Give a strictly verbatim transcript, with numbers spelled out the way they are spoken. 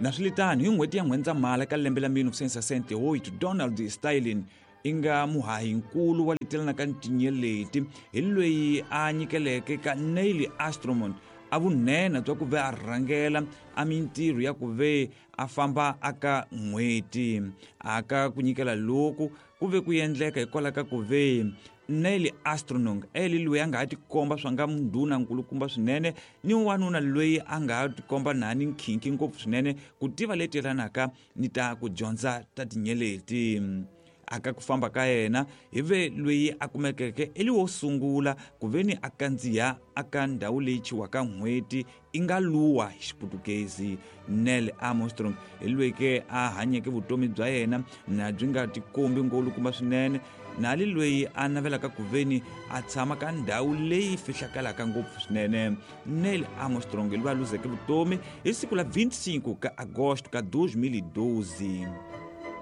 Naswilitano, hi n'hweti ya N'wendzamhala ka lembe la mille novecentos e sessenta e oito, Donald Stirling i nga muhahinkulu wa letelana ka tinyeleti hi loyi a nyikeleke ka Neil Armstrong a vunhenha bya ku ve a rhangela a mintirho ya ku ve a famba aka n'hweti. Aka ku nyikela loku ku ve ku endleka hikwalaho ka ku ve Neil Armstrong eli loyi a nga ha tikomba swa nga ndhuna nkulukumba swinene ni wanuna loyi a nga ha tikomba nani nkhinkhi ngopfu swinene ku tiva leti yelanaka ni ta ku dyondza ta tinyeleti. Aka ku famba ka yena hi ve loyi a kumekeke eli wo sungula ku ve ni a kandziya aka ndhawu leyi chiwaka n'hweti i nga luwa hi Xiputukezi. Neil Armstrong hi loyi ke a hanyeke vutomi bya yena na byi nga tikombi ngolukumba swinene, nali loyi a navelaka ku ve ni a tshama ka ndhawu leyi fihlakalaka ngopfu swinene. Neil Armstrong hi loyi a luzeke vutomi hi siku la vinte e cinco ka agosto ka dois mil e doze.